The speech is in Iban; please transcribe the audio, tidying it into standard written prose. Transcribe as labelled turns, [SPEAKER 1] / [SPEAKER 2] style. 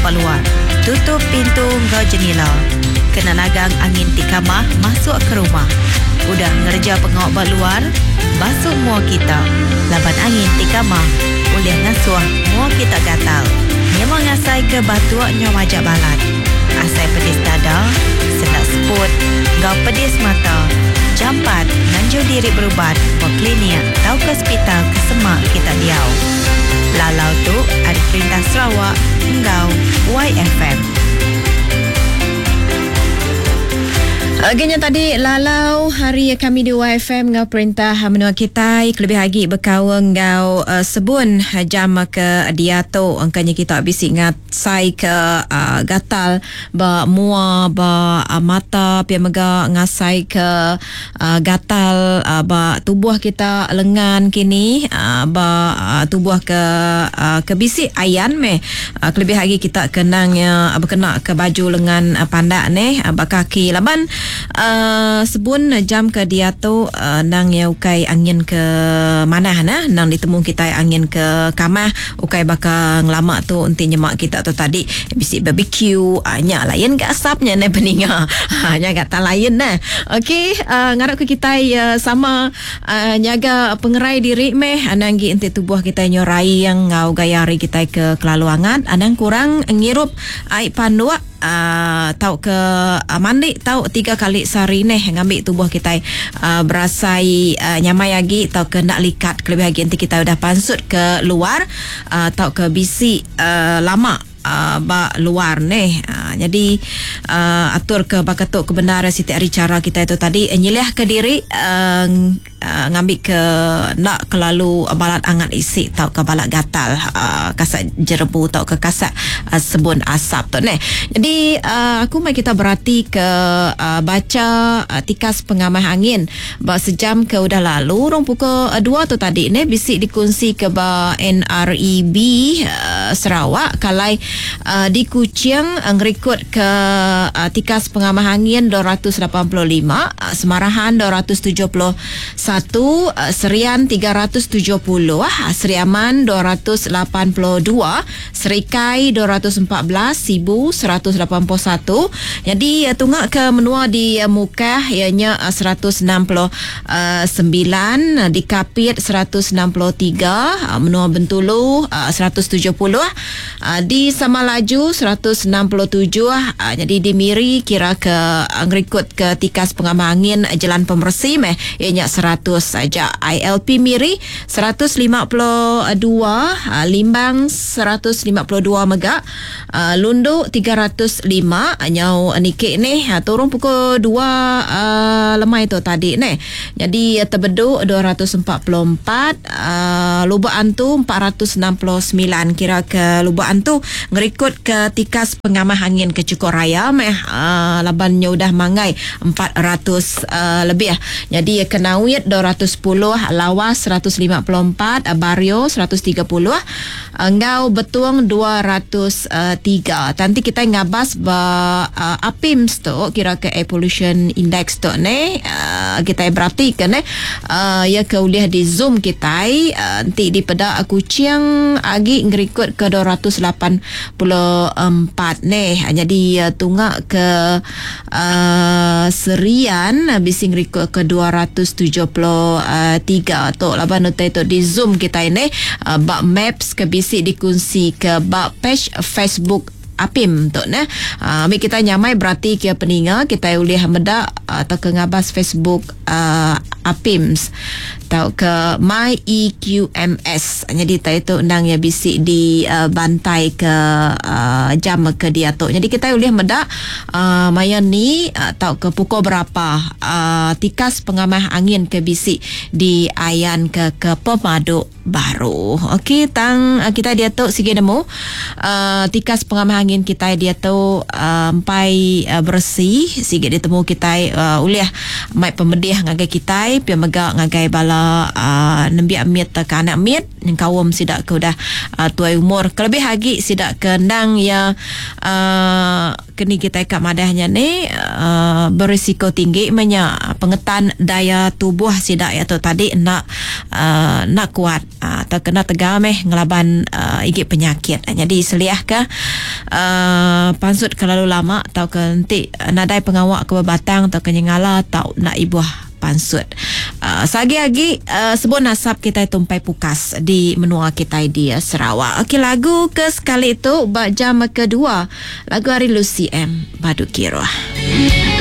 [SPEAKER 1] ba luar. Tutup pintu enggau jenila kena nagang angin ti kamah masuk ke rumah. Udah ngereja pengawa ba luar, basu mua kita laban angin ti kamah ulih ngasuh mua kita gatal. Nyema ngasaika batuk nyau majak balat, asai pedis dada, sendak seput enggau pedis mata, jampat nganjung diri berubat ba klinik tauka sepital ke semak kita diau. Lalau tu ari Perintah Sarawak enggau YFM.
[SPEAKER 2] Agi nya tadi lalau hari kami di YFM enggau perintah menua kitai kelebih agi bekaul enggau uh, sebun jam ke diatu engkanya kita bisi ngasai ke uh, gatal ba mua ba uh, mata pia mega ngasai ke uh, gatal uh, ba tubuh kita lengan kini uh, ba uh, tubuh ke uh, ke bisi ayan meh uh, kelebih agi kita kenang ya uh, bekena ke baju lengan uh, pandak neh uh, ba kaki laban uh, sebun jam ke diatu uh, nang ya ukai angin ke manah nah nang ditemu kita angin ke kamah ukai baka ngelama tu enti nyema kita tu tadi bisi barbecue uh, nya lain ga asapnya neh peninga ha nya ga tak lain neh okey uh, ngarap ke kita uh, sama uh, nyaga pengerai diri meh anang gi enti tubuh kita nyorai yang ngau gaya hari kita ke kelalu angat anang kurang ngirup ai panduk uh, tau ke uh, mandi tau 3 kali sehari neh ngambi tubuh kita uh, berasai uh, nyamai agi tau ke nak likat kelebih agi enti kita udah pansut ke luar uh, tau ke bisi uh, lama uh, ba luar neh. Uh, jadi uh, atur ke baka tu kebenaran siti hari cara kita itu tadi nyeliah ke diri uh, uh, ngambi ke nak kelalu balat angat isi tau ke balat gatal uh, kasak jerebu tau ke kasak uh, sebun asap tu neh. Jadi uh, aku mai kita berarti ke uh, baca uh, tikas pengamah angin ba sejam ke udah lalu rong pukul 2 tu tadi neh bisi dikongsi ke ba NREB uh, Sarawak kalai uh, di Kuching uh, ngerikut ke uh, tikas pengamah angin 285, uh, Semarahan 271, uh, Serian 370, uh, Sri Aman 282, Serikai 214, Sibu 181. Jadi uh, tunggak ke menua di uh, Mukah ianya uh, 169, uh, di Kapit 163, uh, menua Bentulu uh, 170, uh, di Samalaju 167, uh, jadi di Miri kira ke uh, ngerikut ke tikas pengamah angin uh, jalan pemersi meh ianya 100 saja. ILP Miri 152, uh, Limbang 152 mega, uh, Lundu 305, nyau nikik ni uh, turun pukul 2 uh, lemai tu tadi ni. Jadi uh, Tebedu 244, uh, Lubuk Antu 469, kira ke Lubuk Antu ngerikut ke tikas pengamah angin ke cukup raya meh uh, laban nya udah manggai 400 uh, lebih. Jadi Kenawit 210, Lawas 154, Bario 130, enggau Betung 203. Nanti kita ngabas ba uh, APIMS tu kira ke Air Pollution Index tu ne uh, kita berarti ke ne uh, ya ke ulih di zoom kita uh, nanti di peda Kuching agi ngerikut ke 284 ne. Jadi uh, tunggak ke uh, Serian uh, bisi ngerikut ke 273 tu laban utai tu di zoom kita ini uh, bak maps ke bisi dikunsi ke bak page Facebook APIM tu ne. Uh, ambil kita nyamai berarti ke peninga kita boleh medak atau ke ngabas Facebook uh, APIMS atau ke My EQMS. Jadi tak itu undang ya bisi di uh, bantai ke uh, jam ke dia tu. Jadi kita boleh medak uh, maya ni atau ke pukul berapa uh, tikas pengamah angin ke bisi di ayan ke ke pemaduk baru. Okey, tang uh, kita dia tu sige nemu uh, tikas pengamah angin kita dia tu uh, empai uh, bersih sige ditemu kita uh, ulih mai pemedih ngagai kita pia mega ngagai bala bala uh, nembiak mit ke anak mit nyengkaum sida ke udah uh, tuai umur kelebih agi sida ke endang ya uh, keni kita ka madahnya ni uh, berisiko tinggi menya pengetan daya tubuh sida ya tu tadi nak uh, nak kuat uh, atau kena tegal meh ngelaban uh, igi penyakit. Jadi seliah ke uh, pansut kelalu lama atau ke nanti nadai pengawak ke berbatang atau ke nyengala atau nak ibuh pansut. Sagi-agi sebut nasab kita tumpai pukas di menua kita di Sarawak. Okey, lagu ke sekali tu ba jam kedua, lagu hari Lucy M Badu Kiruh.